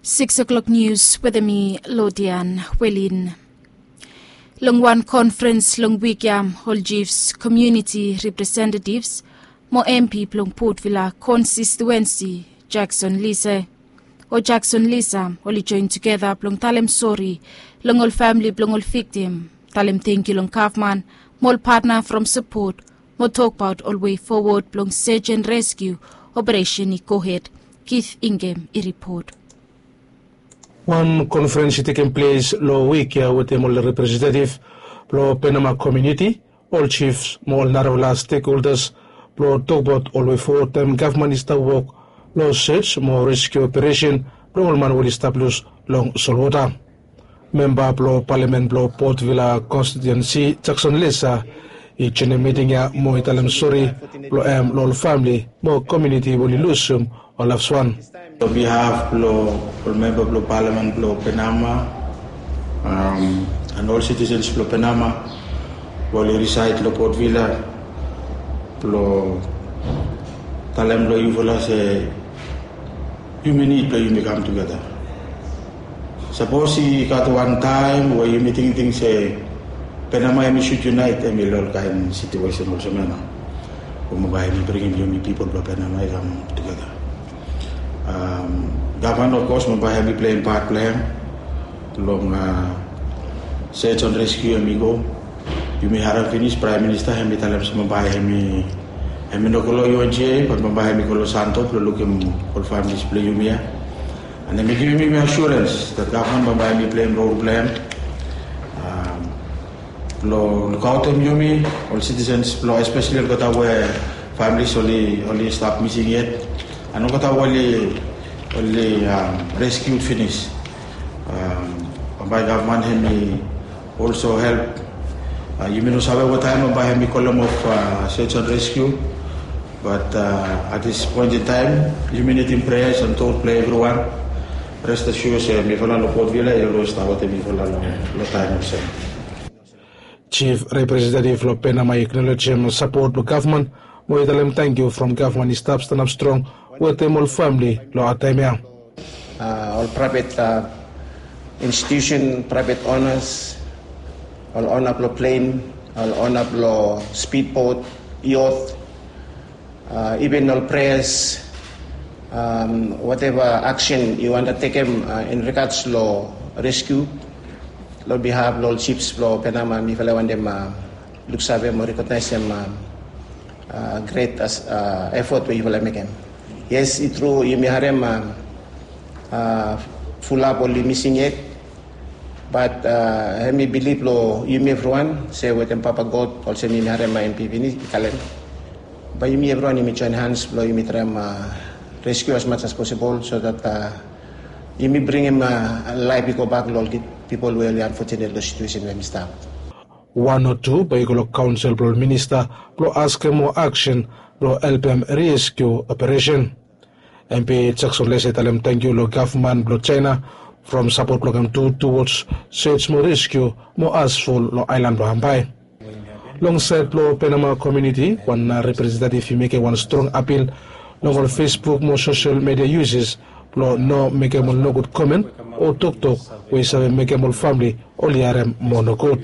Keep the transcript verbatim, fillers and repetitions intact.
Six o'clock news wetem mi, Lodian Welin. Long wan konfrens long wik ya, ol chiefs, komuniti representativs mo M P blong Port Vila konstistuensi, Jackson Lise, o Jackson Lisa, oli joen tugeta blong talem sori long ol famili blong ol viktim, talem tangkiu long gavman mo ol patna from sapot, mo tokbaot ol wei fowod blong search and rescue operesen i gohed. Keith Ingem i ripot. Wan konfrens i tekem ples long wik ya wetem ol representativ blong Penama komuniti, ol chiefs mo ol narafala stekholdas blong tokbaot ol wei fowod taem gavman i stap wok long search mo rescue operesen blong ol man we oli stap lus long solwota. Memba blong palamen blong Port Vila konstitiuensi, Jackson Lisa, i joenem miting ya mo i talem sori blong hem long ol famili mo komuniti we oli lusum ol lavswan. Long bihaf blong ol memba blong palamen blong Penama, am, and ol sitisens blong Penama we oli risaed long Port Vila, blong talem long yufala se yumi nid blong yumi kam tugeta. Sapos i gat wan taem we yumi tingting se Penama hemi sud yunaet, hemi long ol kaen situesen olsem ya nao, we bambae hemi bringim yumi pipol blong Penama i kam tugeta. Am, gavman, of course, bambae hemi pleim pat blong hem long, a, search and rescue hemi go. Yumi harem finis Praem Minista hemi talem se bambae hemi, hemi no go long U N G A, bat bambae hemi go long Santo blong lukim ol familis blong yumi ya. And hemi givim yumi asurens dat gavman bambae hemi pleim rol blong hem, am, blong lukaotem yumi ol sitisens blong, espeseli olgeta we familis oli, oli stap mising yet, and olgeta we oli, oli, am, reskiud finis. Am, bambae gavman hemi also help. A, yumi no save wataem bambae hemi kolem of, a, search and rescue. Bat, a, at this point in time, yumi nidim preas and tot blong evriwan. Rest assured se mifala long Port Vila i olwes stap wetem mifala long, long taem olsem. Chief Representative blong Penama i aknolejem sapot blong gavman mo i talem tangkiu from gavman i stap stanap strong wetem ol famili long had taem ya. A, ol praevet, a, institusen, praevet onas, ol ona blong plen, ol ona blong spidbot, yot, a, iven ol preas, am, wateva aksen yu wantem tekem, a, in regards long reskiu, long bihaf blong ol jifs blong Penama, mifala wantem, a, luksave mo rekognaesem, a, a, gret as, a, efot we yufala mekem. Yes, i tru, yumi harem, a, a, fulap oli mising yet. Bat, a, hemi bilif long yumi evriwan se wetem Papa God, olsem yumi harem, a, M P finis i talem, bae yumi evriwan yumi joen hans blong yumi traem, a, reskiu as much as possible so that, a, yumi bringim, a, laef i gobak long ol pipol we oli unfortunate long situesen we hemi stap. Wan o tu bae i go long kaonsel blong ol minista blong askem moa aksen blong helpem reskiu operesen. M P Jackson Lise i talem tangkiu long gavman blong Jaena from sapot blong hem tu towards search mo reskiu mo asful long aelan blong Hambai. Long saed blong Penama komuniti, wan representativ i mekem wan strong apil long ol Facebook mo sosel midia yuses blong no mekem ol nogud komen o toktok we i save mekem ol famili oli harem moa nogud.